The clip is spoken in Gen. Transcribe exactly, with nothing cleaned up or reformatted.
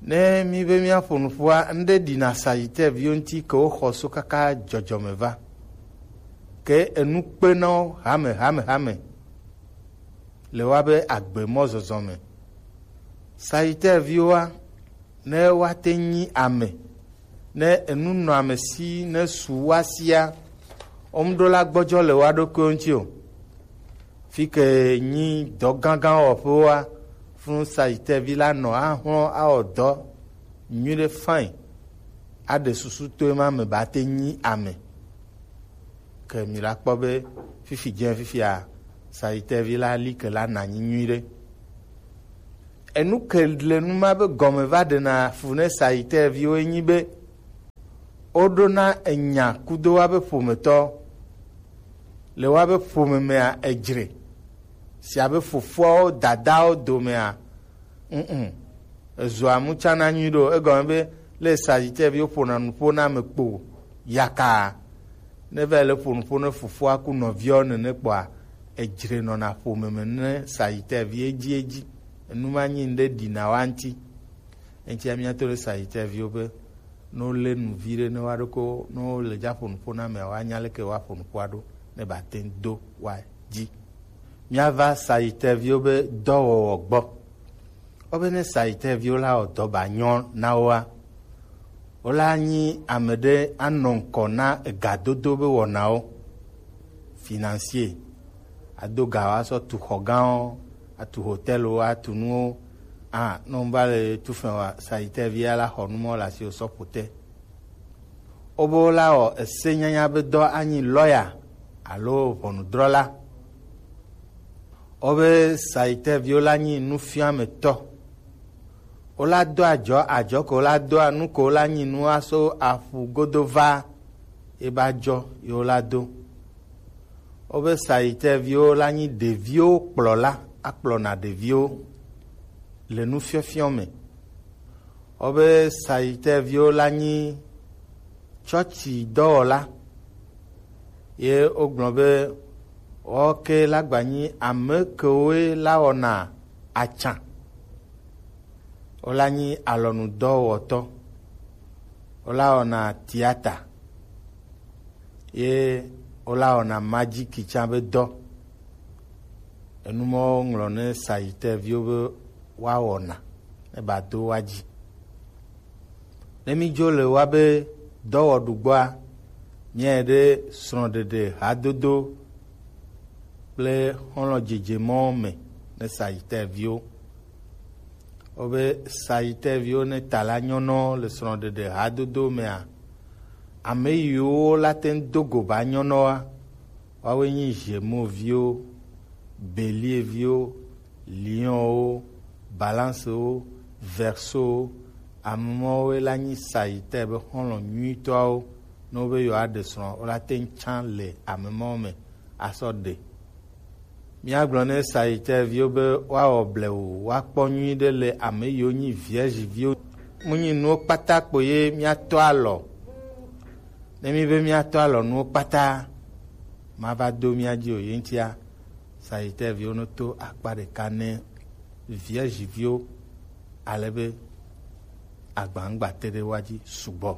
Ne mi be miaƒo nuƒoa, ŋɖe ɖi na Sagittaire viwo ŋuti ke woxɔ so kaka dzɔdzɔme va. Ke enu kpe na wo hame, hame, hame le woabe agbe mɔzɔzɔ me. Sagittaire viwoa, ne woate nyi ame, ne enu nɔ ame si, ne su woa sia, womeɖo la gbɔdzɔ le woa ɖokuiwo ŋuti o. Fi ke nyi dɔ gãgã wɔƒewoa, funu Sagittaire vi la nɔ ahlɔ awɔ dɔ nyuiɖe fine, aɖe susu to ema me ba te nyi ame. Ke mi la kpɔ be fifi dze fifia, Sagittaire vi la li ke la na nyi nyuiɖe. Enu ke le nu ma be gɔme va ɖena fu ne Sagittaire viwo enyi be, woɖona enya kudo woabe ƒometɔ. Le woabe ƒome mea, edzre. Si abe fofoawo, dadawo domea, mm, ezua mutsana nyui ɖo. Egɔme be, le Sagittaire viwo ƒona nuƒo na ame kpo, yaka. Ne va le ƒo nuƒo ne fofoa ku nɔviawo nene kpɔa, edzre nɔna ƒome me ne Sagittaire vi edzi edzi. Enu ma nyi ŋɖe ɖina wa ŋuti. Eŋutia míato ɖe Sagittaire viwo be, ne wolé nu vi ɖe ne woaɖo ko, ne wole dza ƒo nuƒo na amea, woanya leke woaƒo nuƒoa ɖo ne ba te ŋu do woa dzi. Míava Sagittaire viwo be dɔwɔwɔ gbɔ. Wobe ne Sagittaire viwo la wɔ dɔ ba nyɔ na woa, wola nyi ame ɖe anɔ ŋkɔ na egadodo be wɔnawo. Financier, ado ga woasɔ tu xɔ gãwo, atu hotɛlwo, atu nuwo. A, ne wova le tu fɛ̃ wa, Sagittaire via la xɔ nu mɔ le asiwò sɔ ƒo te. Wobe wola wɔ ese nyanya be dɔ anyi lɔya alo ʋɔnudrɔla. Wobe Sagittaire viwo la nyi nufiametɔ. Wola do adzɔ, adzɔ ko wola doa, nu ko wola nyi nu aso aƒu godo va, ye ba dzɔ ye wola do. Wobe Sagittaire viwo la nyi ɖeviwo kplɔla, akplɔna ɖeviwo le nufiɔfiɔ me. Wobe Sagittaire viwo la nyi tsɔtsi dɔwɔla. Ye wogblɔ be woawo ke la gba nyi ame kewoe la wɔna atsa. Wola nyi alɔnudɔwɔtɔ. Wola wɔna tiata. Ye wola wɔna majiki tsã be dɔ. Enu mawo ŋlɔ ne Sagittaire viwo be woawɔna ne ba do woa dzi. Ne mídzo le woabe dɔwɔɖu gbɔa, míae ɖe srɔ̃ɖeɖe hadodo kple xɔlɔ̃ dzedze mɔwo me ne Sagittaire viwo. Wobe Sagittaire viwo ne ta la nyɔnɔ le srɔ̃ɖeɖe hadodo mea, ame yiwo la te ŋu do go ba nyɔnɔa, woawoe nyi Gémeaux viwo, Bélier viwo, Lion wo, Balance wo, Verseau wo. Ame mawoe la nyi Sagittaire be xɔlɔ̃ nyuitɔawo. Ne wobe yewoaɖe srɔ̃, wola te ŋu tsã le ame mawo me asɔ ɖe. Míagblɔ ne Sagittaire viwo be woawɔ blewu, woakpɔ nyuiɖe le ame yiwo nyi Vierge viwo. Mu nyi nuwo kpata kpo ye míatɔ alɔ. Ne mí be míatɔ alɔ nuwo kpata, mava do mía dzi o. Ye ŋutia, Sagittaire viwo no to akpa ɖeka ne Vierge viwo, ale be agba ŋgba te ɖe woa dzi sugbɔ.